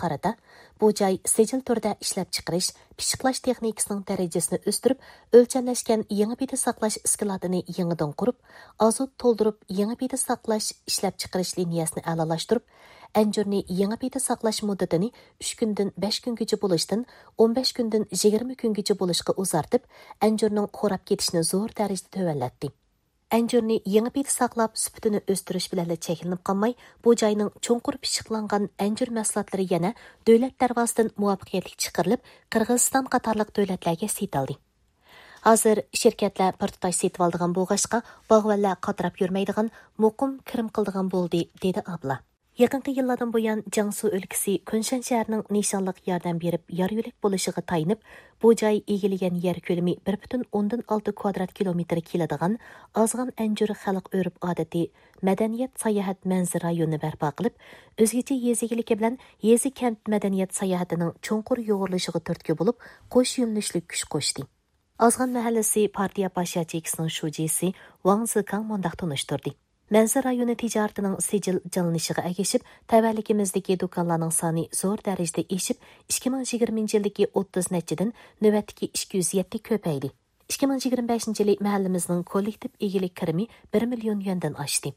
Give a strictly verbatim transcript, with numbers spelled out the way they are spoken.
قارىتا، بۇ جاي سىجىل تۈردە ئىشلەپچىقىرىش، پىششىقلاش تېخنىكىسىنىڭ دەرىجىسىنى ئۆستۈرۈپ، ئۆلچەملەشكەن يېڭى پىدە ساقلاش ئىسكىلاتىنى يېڭىدىن قۇرۇپ، ئازوت تولدۇرۇپ، يېڭى پىدە ساقلاش ئىشلەپچىقىرىش لىنىيەسىنى ئەلالاشتۇرۇپ، ئەنجۈرنى يېڭى پىدە ساقلاش مۇددىتىنى ئۈچ كۈندىن بەش كۈنگىچە بولۇشتىن ئون بەش كۈندىن يىگىرمە كۈنگىچە بولۇشقا ئۇزارتىپ، ئەنجۈرنىڭ خوراپ كېتىشىنى زور دەرىجىدە تۆۋەنلەتتى. ئەنجۈرنى يېڭى پىدە ساقلاپ، سۈپىتىنى ئۆستۈرۈش بىلەنلا چەكلىنىپ قالماي، بۇ جاينىڭ چوڭقۇر پىششىقلانغان ئەنجۈر مەھسۇلاتلىرى يەنە دۆلەت دەرۋازىسىدىن مۇۋەپپەقىيەتلىك چىقىرىلىپ، قىرغىزىستان قاتارلىق دۆلەتلەرگە سېتىلدى. ھازىر شىركەتلەر بىر تۇتاش سېتىۋالىدىغان بولغاچقا، باغۋەنلەر قاتراپ يۈرمەيدىغان، مۇقىم كىرىم قىلىدىغان بولدى، دېدى ئابلا. يېقىنقى يىللاردىن بۇيان، جياڭسۇ ئۆلكىسى كۇنشەن شەھىرىنىڭ نىشانلىق ياردەم بېرىپ، يار يۆلەك بولۇشىغا تايىنىپ، بۇ جاي ئىگىلىگەن يەر كۆلىمى بىر پۈتۈن ئوندىن ئالتە كۋادرات كىلومېتىر كېلىدىغان ئازغان ئەنجۈر خەلق ئۆرپ-ئادىتى، مەدەنىيەت، ساياھەت، مەنزىرە رايونىنى بەرپا قىلىپ، ئۆزگىچە يېزا ئىگىلىكى بىلەن يېزا-كەنت مەدەنىيەت ساياھىتىنىڭ چوڭقۇر يۇغۇرۇلۇشىغا تۈرتكە بولۇپ، قوش يۆنىلىشلىك كۈچ قوشتى. ئازغان مەھەللىسى پارتىيە باش ياچېيكىسىنىڭ شۇجىسى ۋاڭ زېكاڭ مۇنداق تونۇشتۇردى: مەنزىرە رايونى تىجارىتىنىڭ سىجىل جانلىنىشىغا ئەگىشىپ، تەۋەلىكىمىزدىكى دۇكانلارنىڭ سانى زور دەرىجىدە ئېشىپ، ئىككى مىڭ يىگىرمىنچى يىلدىكى ئوتتۇز نەچچىدىن نۆۋەتتىكى ئىككى يۈز يەتتە كۆپەيدى. ئىككى مىڭ يىگىرمە بەشىنچى يىلى مەھەللىمىزنىڭ كوللېكتىپ ئىگىلىك كىرىمى بىر مىليون يۈەندىن ئاشتى.